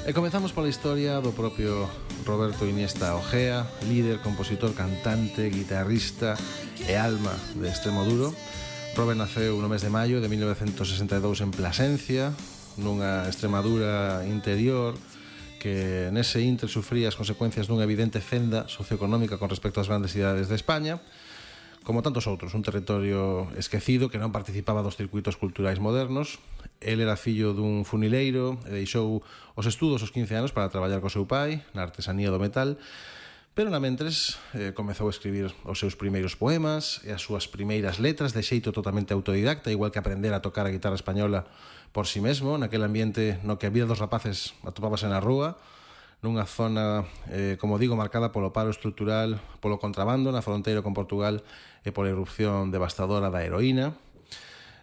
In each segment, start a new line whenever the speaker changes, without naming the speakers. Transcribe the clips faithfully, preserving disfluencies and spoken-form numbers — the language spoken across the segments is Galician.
E comezamos pola historia do propio Roberto Iniesta Ojea, líder, compositor, cantante, guitarrista e alma de Extremoduro. Robert naceu no mes de maio de mil novecentos sesenta e dous en Plasencia, nunha Extremadura interior que nese intre sufría as consecuencias dunha evidente fenda socioeconómica con respecto ás grandes cidades de España. Como tantos outros, un territorio esquecido que non participaba dos circuitos culturais modernos. El era fillo dun funileiro e deixou os estudos aos quince anos para traballar co seu pai na artesanía do metal, pero na mentres eh, comezou a escribir os seus primeiros poemas e as súas primeiras letras de xeito totalmente autodidacta, igual que aprender a tocar a guitarra española por si mesmo, naquele ambiente no que a vida dos rapaces atopábase na rúa, nunha zona, eh, como digo, marcada polo paro estrutural, polo contrabando na fronteira con Portugal e pola irrupción devastadora da heroína.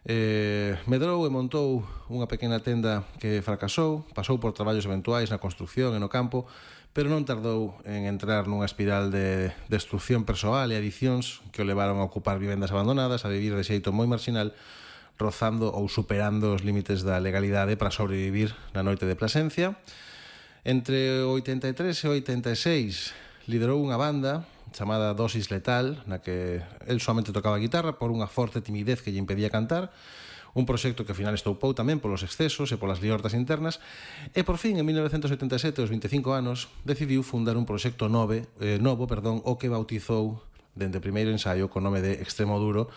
Eh, medrou e montou unha pequena tenda que fracasou, pasou por traballos eventuais na construcción e no campo, pero non tardou en entrar nunha espiral de destrucción persoal e adicións que o levaron a ocupar vivendas abandonadas, a vivir de xeito moi marginal, rozando ou superando os límites da legalidade para sobrevivir na noite de Plasencia. Entre o oitenta e tres e o oitenta e seis liderou unha banda chamada Dosis Letal, na que el somente tocaba a guitarra por unha forte timidez que lle impedía cantar, un proxecto que ao final estoupou tamén polos excesos e polas liortas internas, e por fin, en mil novecentos oitenta e sete, aos veinticinco anos, decidiu fundar un proxecto nove, eh, novo, perdón, o que bautizou dende o primeiro ensaio co nome de Extremoduro,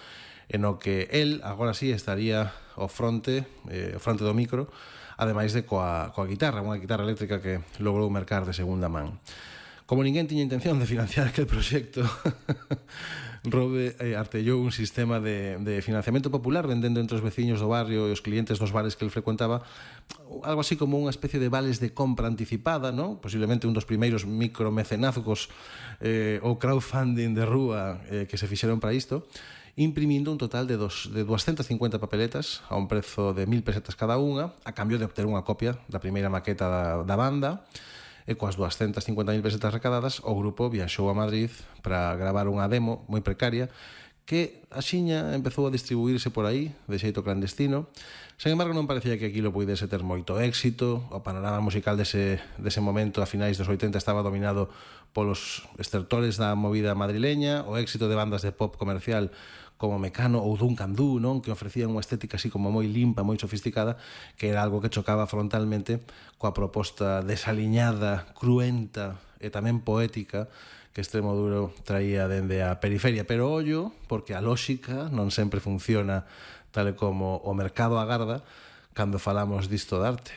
en o que el, agora sí, estaría ao fronte, eh, ao fronte do micro, ademais de coa, coa guitarra, unha guitarra eléctrica que logrou mercar de segunda man. Como ninguén tiña intención de financiar aquel proxecto, Robe eh, artellou un sistema de, de financiamento popular vendendo entre os veciños do barrio e os clientes dos bares que el frecuentaba algo así como unha especie de vales de compra anticipada, ¿no? Posiblemente un dos primeiros micromecenazgos eh, ou crowdfunding de rúa eh, que se fixeron para isto, imprimindo un total de, dos, de doscientas cincuenta papeletas a un prezo de mil pesetas cada unha, a cambio de obter unha copia da primeira maqueta da, da banda, e coas doscientas cincuenta mil pesetas recadadas o grupo viaxou a Madrid para gravar unha demo moi precaria que axiña empezou a distribuírse por aí de xeito clandestino. Sen embargo, non parecía que aquilo puidese ter moito éxito. O panorama musical dese, dese momento a finais dos oitenta estaba dominado polos estertores da movida madrileña, o éxito de bandas de pop comercial como Mecano ou Duncan Du, non? Que ofrecían unha estética así como moi limpa, moi sofisticada, que era algo que chocaba frontalmente coa proposta desaliñada, cruenta e tamén poética que Extremoduro traía dende a periferia. Pero ollo, porque a lóxica non sempre funciona tal como o mercado agarda cando falamos disto de arte.